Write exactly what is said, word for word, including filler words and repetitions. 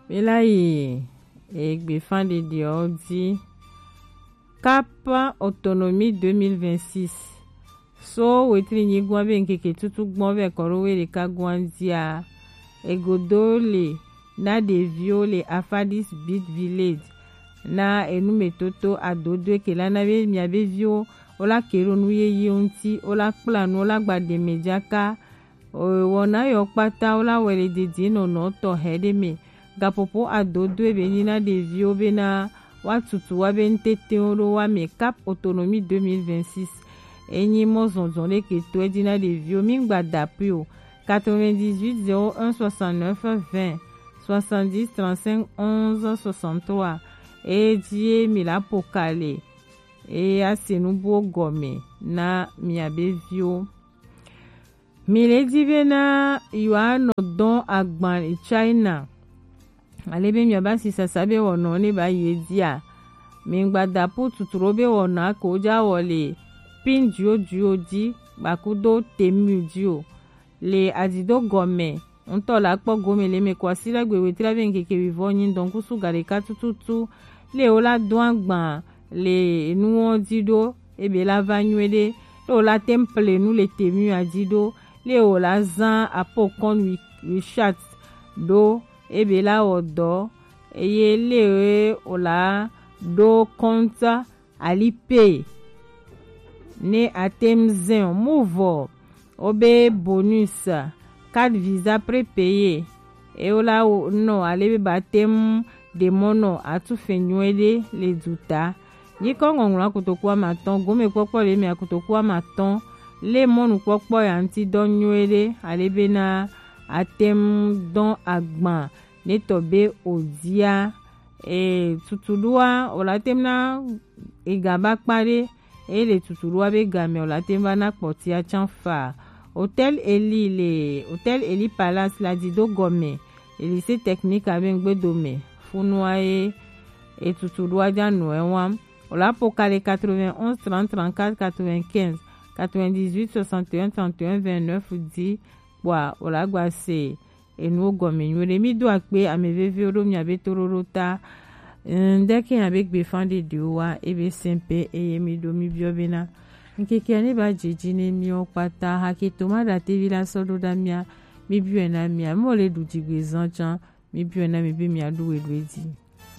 Bela yi egbefa ɖeɖeɔ di. Cap Autonomie deux mille vingt-six. So wetri nyigba be ŋkeke tutu gbɔn vɛ kɔ ɖo we ɖeka gbɔn dia. Egodo le na ɖeviwo le Afadis Beat Village. Na enumetoto adodo eke la na be miabe viwo wo la ke ɖo nu yeye ŋuti, wo la kpla nu, wo la gba ɖeme jaka. Wɔna yɔ kpata wo la wɛ le didi nɔnɔ tɔ hɛ ɖe me. Gapopo adodo ebe nyi na ɖeviwo bena wa tutu wa be ŋtetewo ɖo wa me. Cap Autonomie deux mille vingt-six. Enyi mɔ zɔnzɔn ɖe ke to edi na ɖeviwo. Mi gba da pui o. Quatre-vingt-dix-huit zéro un soixante-neuf vingt soixante-dix trente-cinq onze soixante-trois. Eye ji ye mi la po ka le. Eye ase nu buwo gɔme na miabe viwo. Mi le di bena yewoanɔ dɔn agban le China. Ale be miaba si sasa be wɔnɔ ne ba yi edi a. Mi gba da pu tuturo be wɔnɔ ko ja wɔ le pin dio dio di gbakudo temu di o. Le adido gɔme ŋutɔ la kpɔ gome le me ko asi la gbe wetri be ŋkeke wivɔ nyi dɔn kusu ga ɖeka tututu. Le wo la do agban le enuwo di ɖo ebe la va nyuie ɖe. Le wo la tem ple nu le temu a di ɖo. Le wo la zan apo kɔn wi wi chat ɖo ebe la wɔ dɔ. Eye le wo la ɖo kɔnta Alipay ne atem zɛn o. Muvɔ wobe bonus, carte Visa prépayé. Ewo la wo nɔ ale be ba tem ɖe mɔ nɔ atu fɛ nyuie ɖe le duta. Nyikɔ ŋɔŋlɔ akutoku amatɔn, gome kpɔkpɔ le me akutoku amatɔn. Le mɔnu kpɔkpɔ ya ŋuti dɔ nyuie ɖe ale be na atem dɔn agban ne tɔ be o dia. E tutuɖoa o la tem na ega ba kpa ɖe. Eye le tutuɖoa be game o la tem va na kpɔtia can fa. Hôtel Eli le Hôtel Eli Palace la di do gɔme. Le lycée technique abe ŋgbedo me funua ye e tutuɖoa ja nɔ e wa. O la po ka le quatre-vingt-onze trente trente-quatre quatre-vingt-quinze, quatre-vingt-dix-huit soixante et un trente et un vingt-neuf di kpɔa o la gba se enuwo gɔme nyuie ɖe. Mi do akpe ame veviwo ɖo miabe toɖoɖo ta. Ŋdeke ya be gbefa ɖeɖewo wa ebe sɛnpe eye mi ɖo mi biɔ bena ŋkeke ne ba dzedzi ne miwo kpata hake to ma ɖa tevi la sɔ ɖo ɖa mia. Mi biɔ na mia mo le ɖu dzigbe zan can. Mi biɔ na mi be mia ɖu we ɖu edzi.